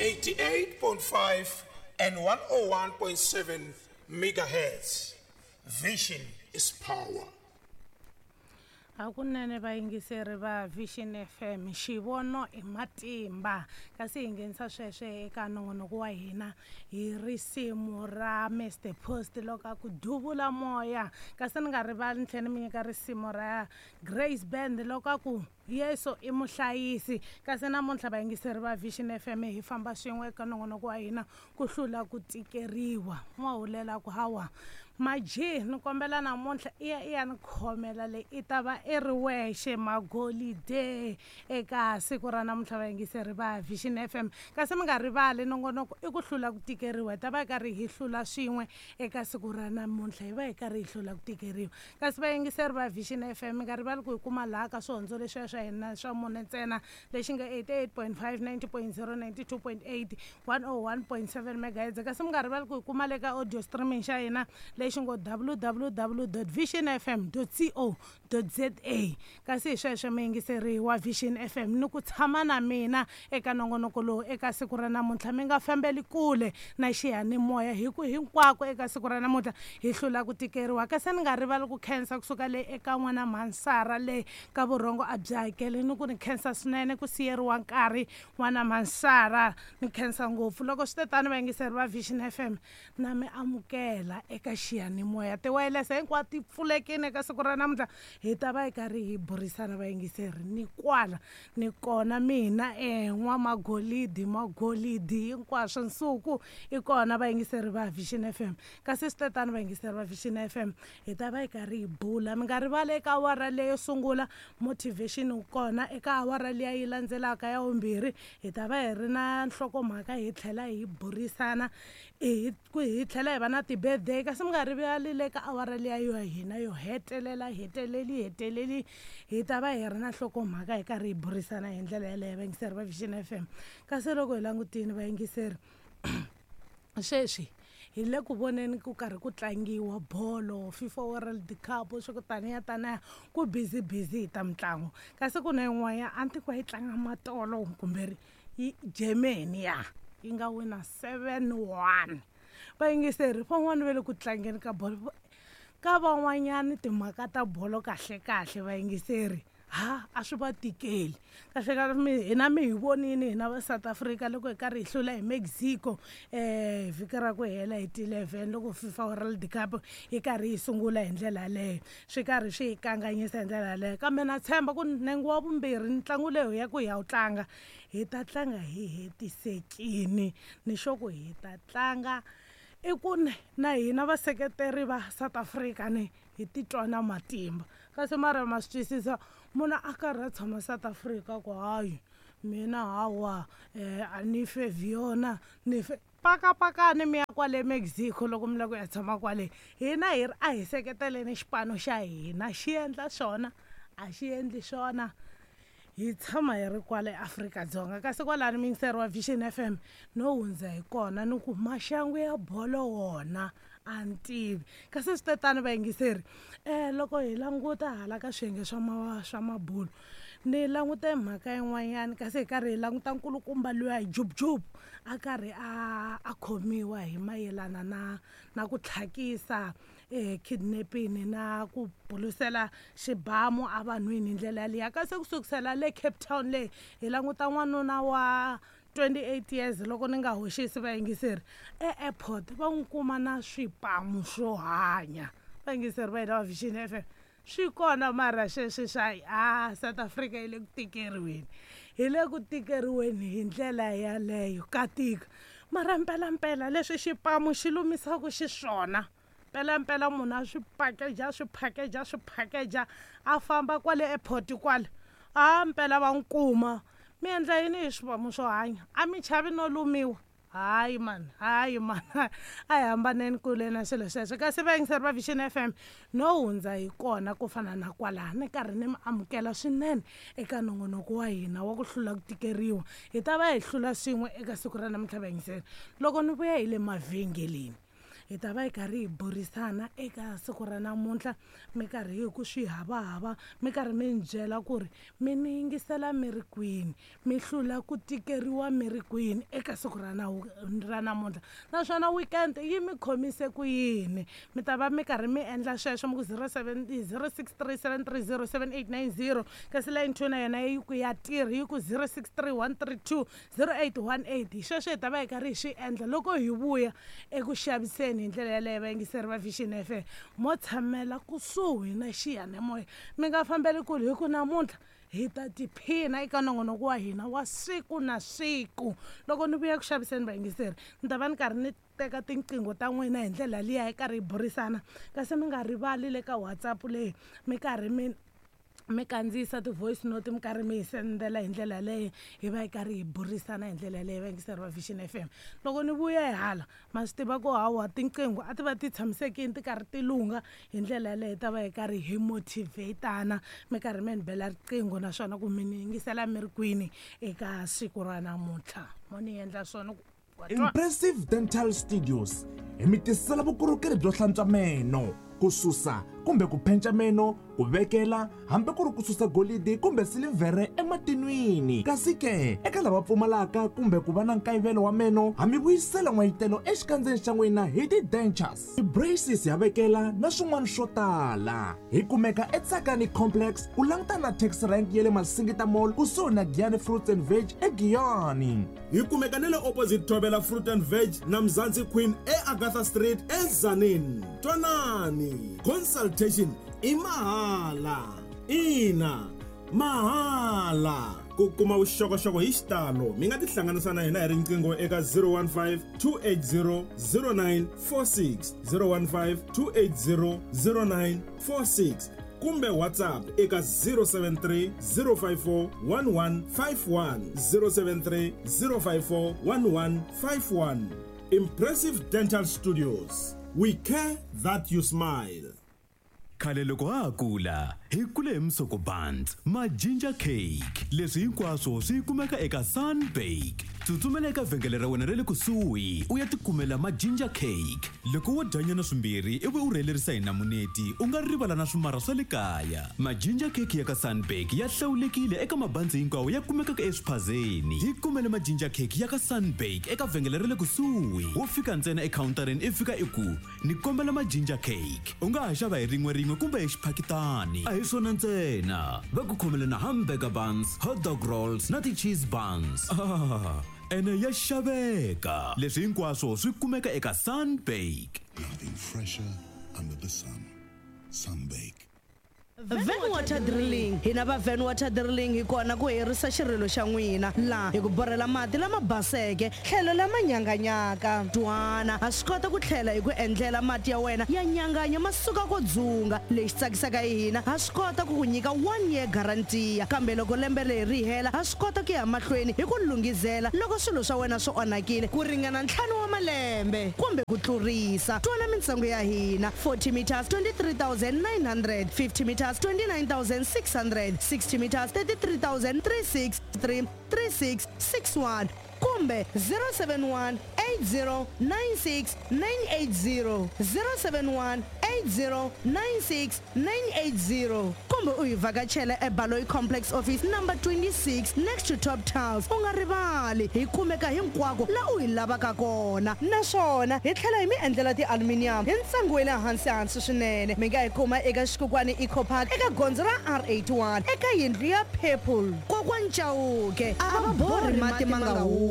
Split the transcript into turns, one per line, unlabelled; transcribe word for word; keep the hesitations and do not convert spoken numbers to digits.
eighty-eight point five and one oh one point seven megahertz. Vision is power.
Hakunene vayingiseri va Vision F M, xivono i matimba. Kasi hi nghenisa sweswo eka nongonoko wa hina hi risimu ra Mister Post loko a ku duvula moya. Kasi ni nga rivali ni tlhela ni mi nyika risimu ra Grace Band loko a ku Yesu i muhlayisi. Kasi namuntlha vayingiseri va Vision F M hi famba swin'we eka nongonoko wa hina ku hlula ku tikeriwa. N'wahulela ku hawa Maji, ni kombela namuntlha i ya i ya ni khomela leyi i ta va i ri wexe magolide eka siku ra namuntlha vayingiseri va Vision F M. Kasi mi nga rivali nongonoko i ku hlula ku tikeriwa, hi ta va hi karhi hi hlula swin'we eka siku ra namuntlha, hi va hi karhi hi hlula ku tikeriwa. Kasi vayingiseri va Vision F M mi nga rivali ku hi kuma laha ka swihondzo leswiya swa hina swa mune ntsena lexi nga eighty-eight point five, ninety point zero, ninety-two point eight, one oh one point seven megahertz. Kasi mi nga rivali ku hi kuma le ka audio streaming xa hina lexi ngo w w w dot vision f m dot co dot z a. Kasi hi sweswo muyingiseri wa Vision F M ni ku tshama na mina eka nongonoko lowu eka siku ra namuntlha, mi nga fambeli kule na xiyanimoya hi ku hinkwako eka siku ra namuntlha hi hlula ku tikeriwa. Kasi ni nga rivali ku khensa kusuka le eka n'wana Mansara le ka vurhongo a byi hakeli, ni ku ni khensa swinene ku siyeriwa nkarhi n'wana Mansara, ni khensa ngopfu. Loko swi te tani vayingiseri va Vision F M na mi amukela eka xiyanimoya, tiwayilese hinkwato ti pfulekile eka siku ra namuntlha, hi ta va hi karhi hi burisana vayingiseri ni kwala ni kona mina eh n'wamagolidi magolidi hinkwaswo nsuku i kona vayingiseri va Vision F M. Kasi swi te tani vayingiseri va Vision F M hi ta va hi karhi hi bula, mi nga rivali eka awara leyo sungula motivation wu kona, eka awara liya yi landzelaka ya vumbirhi hi ta va hi ri na nhlokomhaka hi tlhela hi burisana hi hi tlhela hi va na ti-birthday. Kasi mi nga rivali le ka awara liya yo hina yo hetelela heteleli heteleli hi ta va hi ri na nhlokomhaka hi karhi hi burisana hi ndlela yeleyo vayingiseri va Vision F M. Kasi loko hi langutile vayingiseri sweswi hi le ku voneni ku karhi ku tlangiwa bolo FIFA World Cup swa ku taniya taniya ku busy busy hi ta mitlangu. Kasi ku na yin'wana a ni tivi ku yi tlanga matolo kumbe yi Germany ya yi nga wina seven one. Vayingiseri van'wani va le ku tlangeni ka bolo, ka van'wanyani timhaka ta bolo kahle kahle vayingiseri ha a swi va tikeli kahle kahle. Mi hina mi hi vonini hina va South Africa loko hi karhi hi hlula hi Mexico eh vhiki ra ku hela hi ti eleven loko FIFA World Cup yi karhi yi sungula hi ndlela yaleyo, swi karhi swi hi kanganyisa hi ndlela yaleyo. Kambe na tshemba ku nenge wa vumbirhi ntlangu leyi ya ku hi ya wu tlanga hi ta tlanga hi hetisekini, ni sure ku hi ta tlanga i ku na hina vaseketeri va South Africa ni hi titwa na matimba. Kasi mara ma swi twisisa munhu a karhi a tshama South Africa ku hayi mina hawa eh a ni fevhi yona ni fe pakapakani mi ya kwale Mexico loko mi lava ku ya tshama kwale. Hina hi ri a hi seketeleni xipano xa hina, xi endla swona a xi endli swona, hi tshama hi ri kwale Afrika-Dzonga. Kasi kwalani muyingiseri wa Vision F M no hundza hi kona ni ku maxangu ya bolo wona a ni tivi. Kasi swi te tani vayingiseri eh loko hi languta hala ka swiyenge swa ma swa mabulo ni langute mhaka yin'wanyana, kasi hi karhi hi languta nkulukumba luya hi Jub Jub a karhi a a khomiwa hi mayelana na na ku tlhakisa eh kidnapping na ku bulusela xibamu a vanhwini hi ndlela yaliya. Kasi ku sukusela le Cape Town le hi languta n'wanuna wa twenty-eight years loko ni nga hoxisi vayingiseri e airport va n'wi kuma na swipamu swo hanya. Vayingiseri va hina va Vision F M swi kona mara sweswi swa a South Africa yi le ku tikeriweni, hi le ku tikeriweni hi ndlela yaleyo ka tika. Mara mpelampela leswi xipamu xi lumisaka xiswona mpelampela munhu a swi pakeja swi pakeja swi pakeja a famba kwale airport kwale a mpela va n'wi kuma. Mi endla yini hi swipamu swo hanya, a mi chavi no lumiwa? Hayi man, hayi man, a hi hambaneni kule na swilo sweswo. Kasi vayingiseri va Vision F M no hundza hi kona ku fana na kwalaha ni karhi ni mi amukela swinene eka nongonoko wa hina wa ku hlula ku tikeriwa. Hi ta va hi hlula swin'we eka siku ra namuntlha vayingiseri. Loko ni vuya hi le mavhengeleni Hi ta va hi karhi hi burisana eka siku ra namuntlha, mi karhi hi ku swi havahava, mi karhi mi ni byela ku ri mi ni yingisela mi ri kwini, mi hlula ku tikeriwa mi ri kwini eka siku ra na ra namuntlha, naswona weekend yi mi khomise ku yini. Mi ta va mi karhi mi endla sweswo mi ku zero seven zero six three seven three zero seven eight nine zero, kasi line two na yona yi ku ya tirhi yi ku zero six three one three two zero eight one eight. Hi sweswo hi ta va hi karhi hi swi endla loko hi vuya eku xaviseni hi ndlela yaleyo. Vayingiseri va Vision F M, mo tshamela kusuhi na xiyanimoya, mi nga fambeli kule, hi ku namuntlha hi ta tiphina eka nongonoko wa hina wa siku na siku. Loko ni vuya ku xaviseni vayingiseri, ni ta va ni karhi ni teka tinqingho ta n'wina hi ndlela liya hi karhi hi burisana, kasi mi nga rivali le ka WhatsApp leyi mi karhi mi mi kandziyisa ti-voice note, mi karhi mi hi sendela hi ndlela yaleyo, hi va hi karhi hi burisana hi ndlela yaleyo. Vayingiseri va Vision F M, loko ni vuya hi hala ma swi tiva ku hawa tinqingho a ti va ti tshamisekile ti karhi ti lungha hi ndlela yaleyo, hi ta va hi karhi hi motivatana, mi karhi mi ni bela riqingho naswona ku mi ni yingisela mi ri kwini eka siku ra namuntlha. Mo ni endla swona ku
Impressive Dental Studios hi mi tisela vukorhokeri byo hlantswa meno, ku susa kumbe ku penca meno, ku vekela hambi ku ri ku susa golidi kumbe silivhere ematinwini. Kasi ke eka lava pfumalaka kumbe ku va na nkayivelo wa meno, ha mi vuyisela n'wayitelo exikandzeni xa n'wina hi ti-dentures, ti-braces ya vekela na swin'wana swo tala. Hi kumeka eTsakani Complex ku langutana na taxi rank ya le Masingita Mall kusuhi na Giyani Fruits and Veg eGiyani.
Hi kumeka na le opposite Thobela Fruit and Veg na Mzansi Queen eAgatha Street eZanini. Twanani, consultation i mahala. Ina, mahala. Ku kuma vuxokoxoko hi xitalo mi nga tihlanganisa na hina hi riqingho eka zero one five two eight zero zero nine four six, zero one five two eight zero zero nine four six kumbe WhatsApp eka zero seven three zero five four one one five one, zero seven three zero five four one one five one. Impressive Dental Studios, we care that you smile.
Khale loko ha ha kula hi kule hi musoko buns ma ginger cake, leswi hinkwaswo swi kumeka eka Sunbake. Tsutsumela eka vhengele ra wena ra le kusuhi u ya tikumela ma ginger cake. Loko wo dyanyana swimbirhi ivi u rhelerisa hi namuneti, u nga rivala na swimara swa le kaya. Ma ginger cake ya ka Sunbake ya hlawulekile eka mabandzi hinkwawo ya kumekaka eswiphazeni. Hi kumele ma ginger cake ya ka Sunbake eka vhengele ra le kusuhi. Wo fika ntsena ekhawuntarini i fika i ku ni kombela ma ginger cake. U nga ha xava hi rin'we rin'we kumbe hi xiphakitani. A hi swona ntsena, va ku khomele na hamburger buns, hot dog rolls na ti-cheese buns. Ah, ene ya xaveka. Leswi hinkwaswo swi kumeka eka Sunbake.
Nothing fresher under the sun. Sunbake.
Van Water Drilling. Hina va Van Water Drilling hi kona ku herisa xirilo xa n'wina laha hi ku borhela mati lama baseke tlhelo lama nyanganyaka. Twana ha swi kota ku tlhela hi ku endlela mati ya wena ya nyanganya ma suka ko dzunga. Lexi tsakisaka hi hina, ha swi kota ku ku nyika one year guarantee, kambe loko lembe leri ri hela ha swi kota ku ya mahlweni hi ku lunghizela loko swilo swa wena swi onhakile ku ringana ntlhanu wa malembe kumbe ku tlurisa. Twana mintsengo ya hina: forty meters twenty-three thousand nine hundred, fifty meters twenty-nine thousand six hundred, sixty meters thirty-three thousand three six three three six six one kumbe zero seven one eight zero nine six nine eight zero, zero seven one eight zero nine six nine eight zero kumbe u hi vhakachela eBaloyi Complex Office number twenty-six next to Top Tiles. U nga rivali, hi kumeka hinkwako la u hi lavaka kona, naswona hi tlhela hi mi endlela ti-aluminium hi ntsengo wa le hansi hansi swinene. Mi nga hi kuma eka Xikukwana Eco Park eka gondzo ra R eighty-one eka yindlu ya Purple. Kokwani Chauke a va borhi mati ma nga humi.